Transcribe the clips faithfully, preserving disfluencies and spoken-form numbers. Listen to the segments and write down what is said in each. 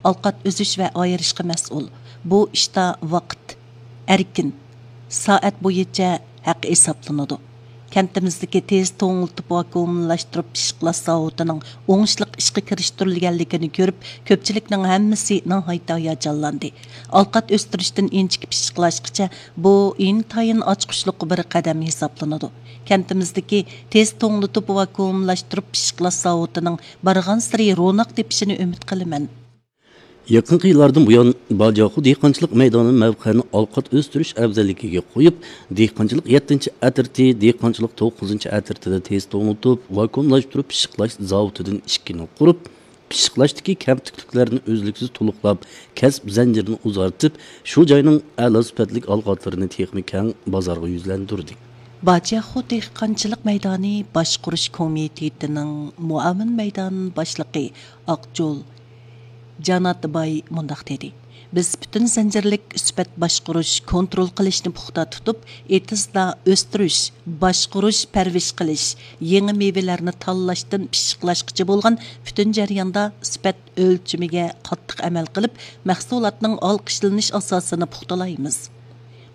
ئالقات ئۈزۈش ۋە ئايرىشقا مەسئۇل. بۇ ئىشتا ۋاقىت ئەركىن، سائەت بويىچە ھەق ھېسابلىنىدۇ. كەنتىمىزدىكى تېز توڭلىتىپ ۋاكۇئۇملاشتۇرۇپ پىششىقلاش زاۋۇتىنىڭ ئوڭۇشلۇق ئىشقا كىرىشتۈرۈلگەنلىكىنى كۆرۈپ، كۆپچىلىكنىڭ ھەممىسى ناھايىتى ھاياجانلاندى. ئالقات ئۆستۈرۈشتىن ئىنچىكە پىششىقلاشقىچە بۇ ئىنتايىن ئاچقۇچلۇق بىر قەدەم ھېسابلىنىدۇ. كەنتىمىزدىكى تېز توڭلىتىپ ۋاكۇئۇملاشتۇرۇپ پىششىقلاش زاۋۇتىنىڭ بارغانسېرى روناق تېپىشىنى ئۈمىد قىلىمەن. يېقىنقى يىللاردىن بۇيان، باجاخو دېھقانچىلىق مەيدانى مەۋقەنى ئالقات ئۆستۈرۈش ئەۋزەللىكىگە قويۇپ، دېھقانچىلىق يەتتىنچى ئەترىتى، دېھقانچىلىق توققۇزىنچى ئەترىتىدە تېز توڭلىتىپ، ۋاكۇئۇملاشتۇرۇپ پىششىقلاش زاۋۇتىدىن ئىككىنى قۇرۇپ، پىششىقلاشتىكى كەمتۈكلۈكلەرنى ئۈزلۈكسىز تولۇقلاپ، كەسىپ زەنجىرىنى ئۇزارتىپ، شۇ جاينىڭ ئەلا سۈپەتلىك ئالقاتلىرىنى تېخىمۇ كەڭ بازارغا يۈزلەندۈردى. باجياخو دېھقانچىلىق مەيدانى باشقۇرۇش كومىتېتىنىڭ مۇئاۋىن مەيدان باشلىقى ئاقجول جاناتباي مۇنداق دېدى: بىز پۈتۈن زەنجىرلىك سۈپەت باشقۇرۇش، كونترول قىلىشنى پۇختا تۇتۇپ، ئېتىزدا ئۆستۈرۈش، باشقۇرۇش، پەرۋىش قىلىش، يېڭى مېۋىلەرنى تاللاشتىن پىششىقلاشقىچە بولغان پۈتۈن جەرياندا سۈپەت ئۆلچىمىگە قاتتىق ئەمەل قىلىپ، مەھسۇلاتنىڭ ئالقىشلىنىش ئاساسىنى پۇختىلايمىز.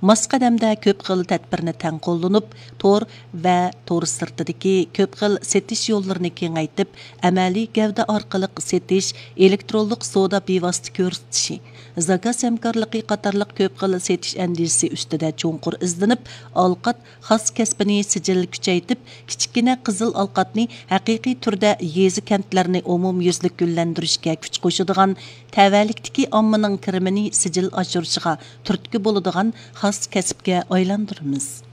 ماس قەدەمدە كۆپ خىل تەدبىرنى تەڭ قوللىنىپ، تور ۋە تور سىرتىدىكى كۆپ خىل سېتىش يوللىرىنى كېڭەيتىپ، ئەمەلىي گەۋدە ئارقىلىق سېتىش، ئېلېكترونلۇق سودا بىۋاسىتە كۆرسىتىشى، زاكاز ھەمكارلىقى قاتارلىق كۆپ خىل سېتىش ئەندىزىسى ئۈستىدە چوڭقۇر ئىزدىنىپ، ئالقات خاس كەسپىنى سىجىل كۈچەيتىپ، كىچىككىنە قىزىل ئالقاتنى ھەقىقىي تۈردە يېزا، كەنتلەرنى ئومۇميۈزلۈك گۈللەندۈرۈشكە كۈچ قوشىدىغان، تەۋەلىكتىكى ئاممىنىڭ كىرىمىنى سىجىل ئاشۇرۇشىغا تۈرتكە بولىدىغان خاس كەسىپكە ئايلاندۇرىمىز.